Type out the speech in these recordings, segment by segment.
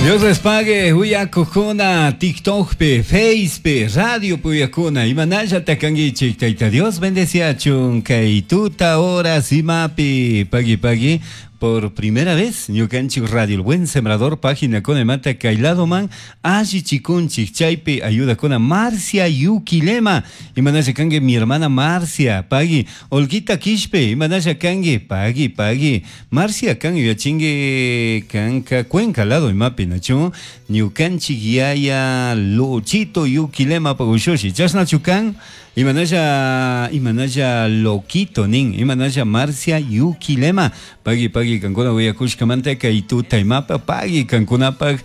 Dios les pague, uyakukuna, TikTokpi, Facepi, radiopi uyakuna, imanallata kankichik, Tayta Dios bendeciachun, kay tuta horas imapi, pagui pagui, por primera vez, ñukanchik Radio El Buen Sembrador, página con mata kayladoman, alli chikunchik, chaypi ayuda con Marcia Yukilema, imanalla kanki mi hermana Marcia, pagui, Olguita Quishpe, imanalla kanki, pagui, pagui, Marcia kan yuyachinki kanka Cuenca lado imapi nachu, ñukanchik yaya Luchito Yukilema pagushushi, chashnachu kan, imanalla, imanalla loquito nin, imanalla Marcia Yukilema, pagui pagui kankuna uyakushkamanta kay tuta imapa, pagui kankunapaj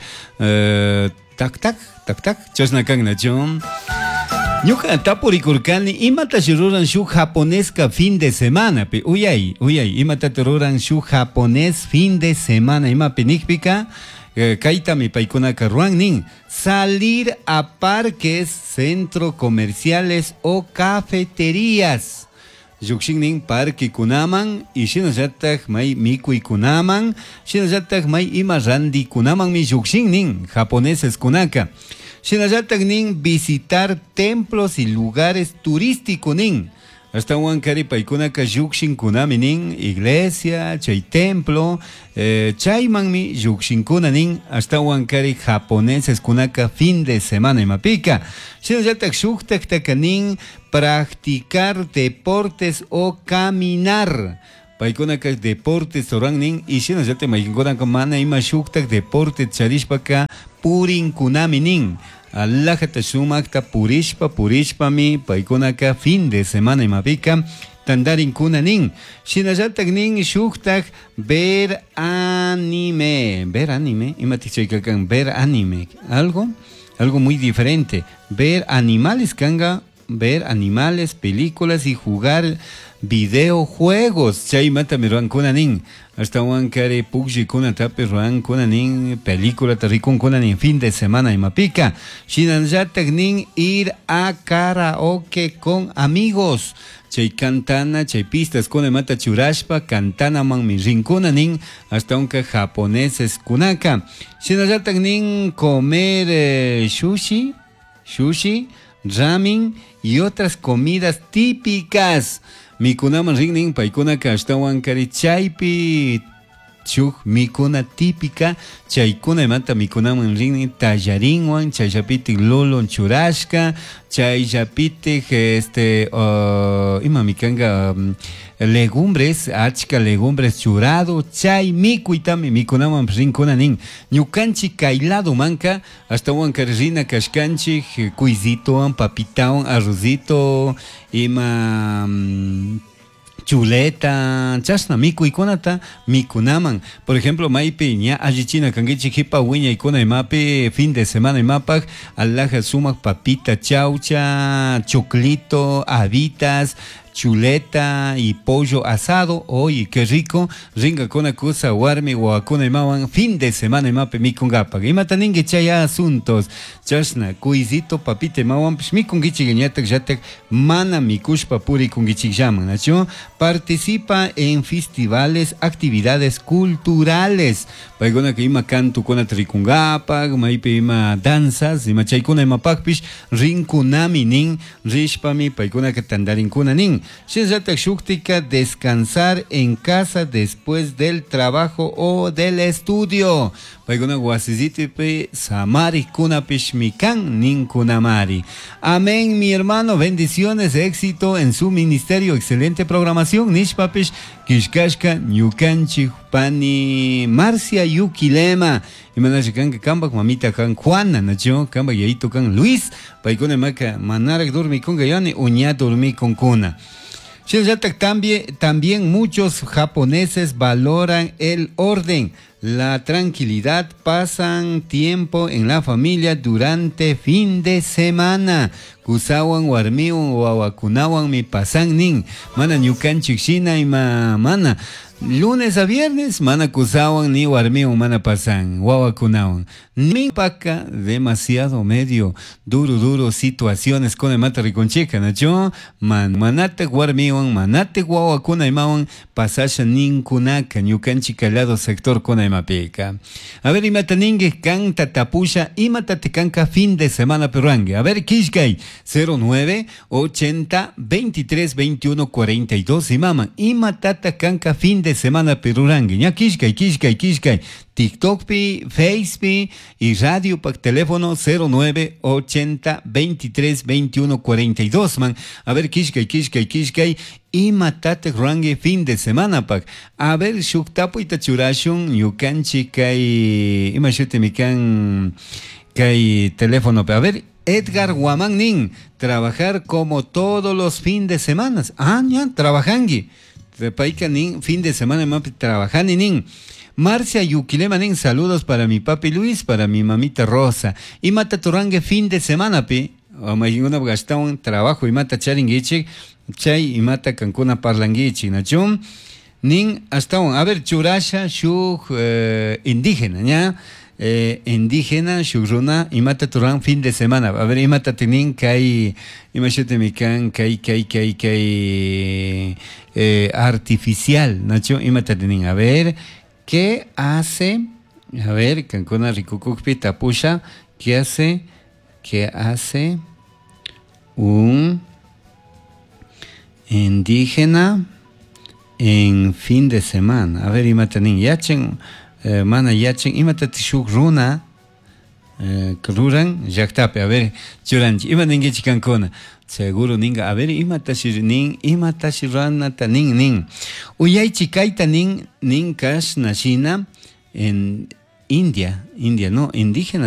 tak tak tak tak chashna kan nachu. Ñuka tapurikurkani imatashi ruran shuk japonesca fin de semana pi uyay uyay imatata ruran shuk japonés fin de semana imapi nikpika kaytami paykunaka ruwan nin salir a parques, centro comerciales o cafeterías. Llukshin nin parquekunaman y shinallatak may mikuykunaman, shinallatak may ima randikunamanmi llukshin nin japoneses kunaka. Shinallatak nin visitar templos y lugares turísticos nin. Ashtawan kari paykunaka llukshinkunami nin iglesia, chay templo, chaymanmi llukshinkuna nin, ashtawan kari japoneses kunaka fin de semana imapika. Shinallatak shuktaktaka nin practicar deportes o caminar. Paykunaka deportes ruran nin y shinallatak maykinkunaka mana ima shuktak deporte charishpaka purinkunami nin. Alajata sumakta purishpa purishpami paykunaka fin de semana imapika tandarinkuna nin. Shinallatak nin shuktak ver anime, ver anime, imatik chayka kan ver anime, algo, algo muy diferente. Ver animales kanga, ver animales, películas y jugar videojuegos. Chaymanta mi ruankuna nin. Ashtawan kari pukllkuna tapi ruankuna nin, película rikunkuna nin, fin de semana imapika. Shinallatak nin ir a karaoke con amigos. Chay cantana, chay pistas kuna mata churashpa, cantana man mi rinkuna nin, hasta unka japoneses kunaka. Shinallatak nin comer sushi, sushi, ramen y otras comidas típicas. Mikunaman rin paykunaka ashtawan kari chaypi shuk mikuna típica, chaykuna imata mikunaman rin tallarinwan, chayllapitik lulun churashka, chayllapitik ima mikanga, legumbres, achka legumbres churado, chay mikuytami mikunaman rinkuna nin. Ñukanchik kay lado manka, ashtawan kari rina kashkanchik, kuyzitowan, papitawan, arrozito, ima, chuleta, chashna mikuykunata mikunaman. Por ejemplo, maypi ña allichina kankichik jipa wiñaykuna imapi fin de semana imapaj alhaja sumak papita chaucha, choclito, habitas, chuleta y pollo asado. Oye, qué rico. Ringa kuna kusa warmi wawakuna imawan fin de semana imapi mikungapak. Imata ninki chay asuntos. Chashna kuyzito papita imawanpish mikunkichik ñatak llatak mana mikushpa purikunkichik llaman, ¿nachu? Participa en festivales, actividades culturales. Paykuna que ima kantukuna rikungapak, maypi ima danzas, ima chaykuna imapakpish rinkunami nin, rishpami paykuna que tandarinkuna nin. Shinallatak shuktika descansar en casa después del trabajo o del estudio. Paykuna wasisitipi samarikunapish mikan ninkunamari. Amén, mi hermano, bendiciones, éxito en su ministerio, excelente programación. Nishpapish kishkashka ñukanchik pani Marcia Yukilema. Imanashi kanka kambak mamita kan Juana, nacho kambak yayito kan Luis. Paykuna maka manarak dormikunka yani uña dormikunkuna. Shinallatak también muchos japoneses valoran el orden, la tranquilidad, pasan tiempo en la familia durante fin de semana. Kusawan, warmiwan, wawakunawan mi pasan nin. Mana ñukanchik shina ima mana. Lunes a viernes mana kusawan ni warmiwan mana pasan wawakunawan. Paka demasiado medio duro duro situaciones con imata rikunchika, nachu? Man manatak warmiwan manatak wawakuna imawan pasasha ninkunaka ñukanchik lado sector kuna imapika. A ver, imata ninki kanta tapusha imata kanka fin de semana peruangue. A ver, kishkay 09 80 23 21 42 imama imatata kanka fin de semana perurangue. Ña kishkay kishkay kishkay TikTok pi, Face pi y radio pa teléfono 09 80 23 21 42 man. A ver, kishkay kishkay kishkay imatata rurangue fin de semana pak. A ver, shuk tapuyta churashun ñukanchik kay ima shutimi kan kay teléfono. A ver, Edgar Guamán nin, trabajar como todos los fines de semana. Ah, ya, trabajangui. Payka nin, fin de semana mapi trabajani nin. Marcia Yuquilema nin, saludos para mi papi Luis, para mi mamita Rosa. Imata turangue fin de semana pi. Mayinguna gastawan trabajo imata charinguichik, chay imata kankuna parlanguichik, nachum. Nin astawan, a ver, churasha shuk indígena, ña. Indígena shuk runa imata turan fin de semana. A ver, imata tinin kay ima shutimi kan kay kay kay kay artificial, nachu imata tinin. A ver, ¿qué hace? A ver, kankuna rikukukpi tapusha, ¿qué hace? ¿Qué hace un indígena en fin de semana? A ver, imata nin yachen mana yachen imata shuk runa ruran llaqtapi. A ver, churanchik ima ninkichik kankuna. Seguro ninga, a ver, imatashi nin, imatashi ruranata nin nin. Uyaychik kayta nin nin kashna shina en India, India no, indígena.